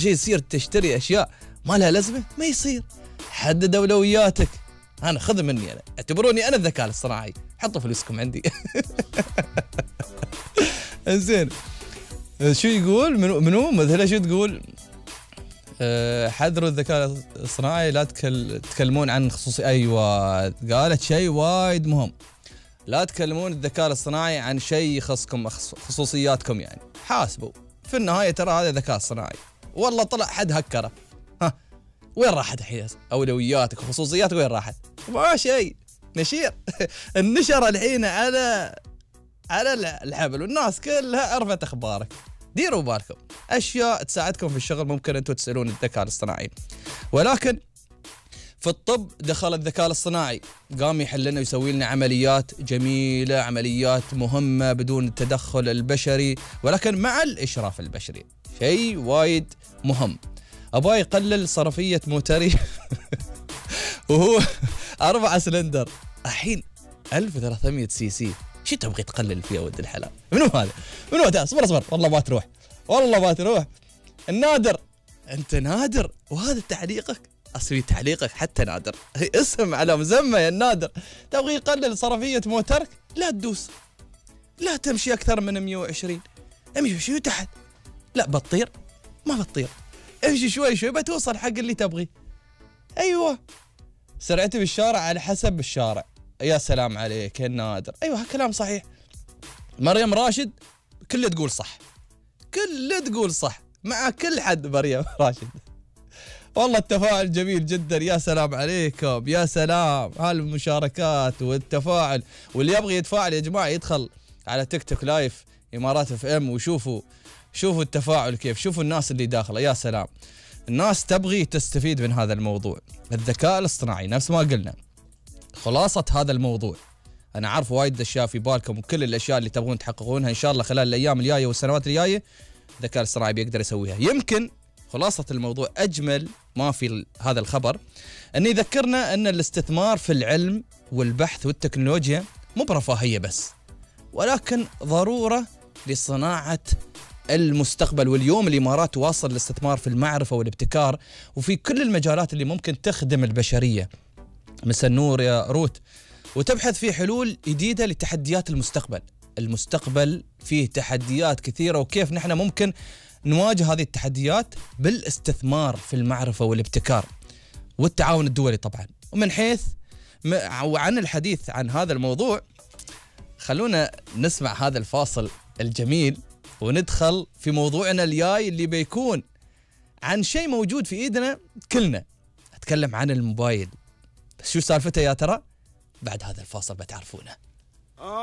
شيء يصير تشتري أشياء ما لها لازمة، ما يصير. حدد أولوياتك. أنا خذ مني، أنا اعتبروني أنا الذكاء الاصطناعي، حطوا فلوسكم عندي. إنزين، شو يقول منو مثلا شو تقول؟ حذروا الذكاء الاصطناعي، لا تتكلمون عن خصوصي. أيوة، قالت شيء وايد مهم، لا تكلمون الذكاء الاصطناعي عن شيء يخصكم، خصوصياتكم. يعني حاسبوا في النهاية ترى هذا ذكاء اصطناعي، والله طلع حد هكره، ها وين راحت الحين أولوياتك وخصوصياتك؟ وين راحت؟ ما شيء نشير. النشر الحين على الحبل، والناس كلها عرفت أخبارك. ديروا بالكم، أشياء تساعدكم في الشغل ممكن أنتم تسألون الذكاء الاصطناعي. ولكن في الطب دخل الذكاء الاصطناعي، قام يحل لنا ويسوي لنا عمليات جميلة، عمليات مهمة بدون التدخل البشري، ولكن مع الإشراف البشري. شيء وايد مهم. أبغى يقلل صرفية موتري وهو 4 سلندر الحين 1300 سي سي. شو تبغي تقلل فيها ولد الحلال؟ منو هذا؟ منو هذا؟ اصبر والله ما تروح، والله ما تروح. النادر، انت نادر وهذا تعليقك؟ اسوي تعليقك حتى نادر، اسم على مسمى يا النادر. تبغي يقلل صرفية موترك؟ لا تدوس، لا تمشي اكثر من 120، امشي تحت. لا بتطير؟ ما بتطير، امشي شوي بتوصل حق اللي تبغي. ايوه، سرعتي بالشارع على حسب الشارع. يا سلام عليك يا نادر، ايوه كلام صحيح. مريم راشد كله تقول صح، كله تقول صح مع كل حد. مريم راشد والله التفاعل جميل جدا، يا سلام عليكم، يا سلام هالمشاركات والتفاعل. واللي يبغي يتفاعل يا جماعه يدخل على تيك توك لايف امارات اف ام وشوفوا التفاعل كيف، شوفوا الناس اللي داخله. يا سلام، الناس تبغي تستفيد من هذا الموضوع. الذكاء الاصطناعي نفس ما قلنا، خلاصة هذا الموضوع، أنا عارف وايد أشياء في بالكم، وكل الأشياء اللي تبغون تحققونها إن شاء الله خلال الأيام الجاية والسنوات الجاية الذكاء الاصطناعي بيقدر يسويها. يمكن خلاصة الموضوع أجمل ما في هذا الخبر أن يذكرنا أن الاستثمار في العلم والبحث والتكنولوجيا مو برفاهية بس، ولكن ضرورة لصناعة المستقبل. واليوم الإمارات تواصل الاستثمار في المعرفة والابتكار وفي كل المجالات اللي ممكن تخدم البشرية مثل نور يا روت، وتبحث في حلول جديدة لتحديات المستقبل. المستقبل فيه تحديات كثيرة، وكيف نحن ممكن نواجه هذه التحديات بالاستثمار في المعرفة والابتكار والتعاون الدولي طبعا. ومن حيث وعن الحديث عن هذا الموضوع، خلونا نسمع هذا الفاصل الجميل وندخل في موضوعنا الجاي اللي بيكون عن شيء موجود في ايدنا كلنا. اتكلم عن الموبايل، بس شو سالفته يا ترى؟ بعد هذا الفاصل بتعرفونه.